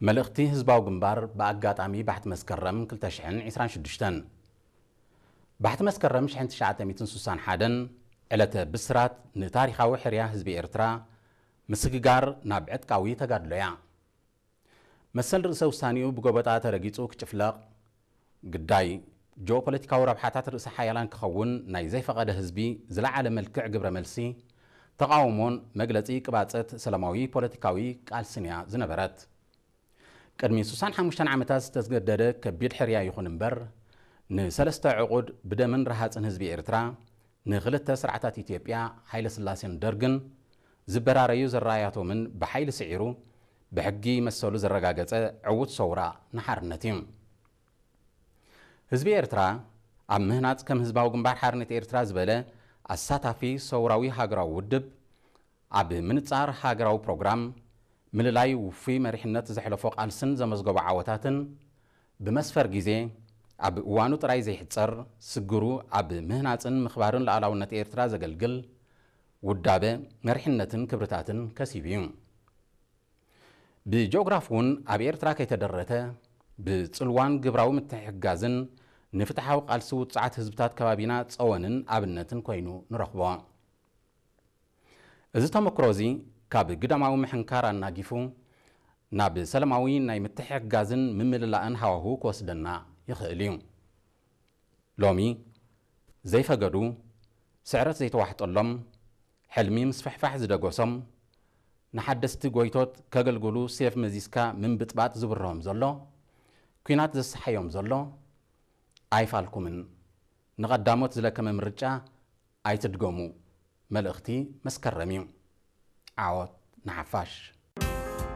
መልእኽቲ ህዝባዊ ግንባር ብኣጋጣሚ ባሕቲ መስከረም ክልተ ሽሕን ዕስራን ሽዱሽተን። ባሕቲ መስከረም ሽሕን ትሽዓተ ሚእትን ሱሳን ሓደን ዕለተ ብስራት ንታሪኻዊ ሕርያ ህዝቢ ኤርትራ ምስግጋር ናብ ዕጥቃዊ ተጋድሎ እያ። መሰል ርእሰ ውሳኔኡ ብጎበጣ ተረጊጹ ክጭፍለቕ፣ ግዳይ ጂኦፖለቲካዊ ረብሓታት ርእሰ ሓያላን ክኸውን ናይ ዘይፈቐደ ህዝቢ ዝለዓለ መልክዕ ግብረ መልሲ፣ ተቓውሞን መግለጺ ቅባጸት ሰላማዊ ፖለቲካዊ ቃልስን እያ ዝነበረት። ቅድሚ ሱሳን ሓሙሽተን ዓመታት ዝተገደደ ከቢድ ሕርያ ይኹን እምበር፣ ንሰለስተ ዕቑድ ብደምን ረሃጽን ህዝቢ ኤርትራ፣ ንኽልተ ስርዓታት ኢትዮጵያ፣ ሃይለስላሴን ደርግን፣ ዝበራረዩ ዘራያቶምን ብሓይሊ ስዒሩ፣ ብሕጊ መሰሉ ዘረጋገጸ ዕዉት ሰውራ ንሓርነት እዩ። ህዝቢ ኤርትራ ኣብ ምህናጽ ከም ህዝባዊ ግንባር ሓርነት ኤርትራ ዝበለ ኣሳታፊ ሰውራዊ ሃገራዊ ውድብ፣ ኣብ ምንጻር ሃገራዊ ፕሮግራም፣ ምልላይ ውፉይ መሪሕነት ዘሕለፎ ቃልስን ዘመዝገቦ ዓወታትን፣ ብመስፈር ግዜ ኣብ እዋኑ ጥራይ ዘይሕጸር ስግሩ ኣብ ምህናጽን ምኽባርን ሉዓላውነት ኤርትራ ዘገልግል ውዳበ መሪሕነትን ክብርታትን ከሲቡ እዩ። ብጂኦግራፊ እውን ኣብ ኤርትራ ከይተደረተ፣ ብጽልዋን ግብራዊ ምትሕግጋዝን ንፍትሓዊ ቃልሲ ውጹዓት ህዝብታት ከባቢና ጸወንን ኣብነትን ኮይኑ ንረኽቦ። እዚ ተመክሮ እዚ ካብ ግዳማዊ ምሕንካር ኣናጊፉ ናብ ሰላማዊ ናይ ምትሕግጋዝን ምምልላእን ሃዋሁ ክወስደና ይኽእል እዩ። ሎሚ ዘይፈገዱ፣ ስዕረት ዘይተዋሕጠሎም፣ ሕልሚ ምስፍሕፋሕ ዝደገሶም፣ ንሓደስቲ ጎይቶት ከገልግሉ ሴፍ መዚዝካ ምንብጥባጥ ዝብርሆም ዘሎ፣ ኲናት ዘሰሓዮም ዘሎ፣ ኣይፋልኩምን። ንቐዳሞት ዝለከመ ምርጫ ኣይትድገሙ። መልእኽቲ መስከረም እዩ። ዓወት ንሓፋሽ።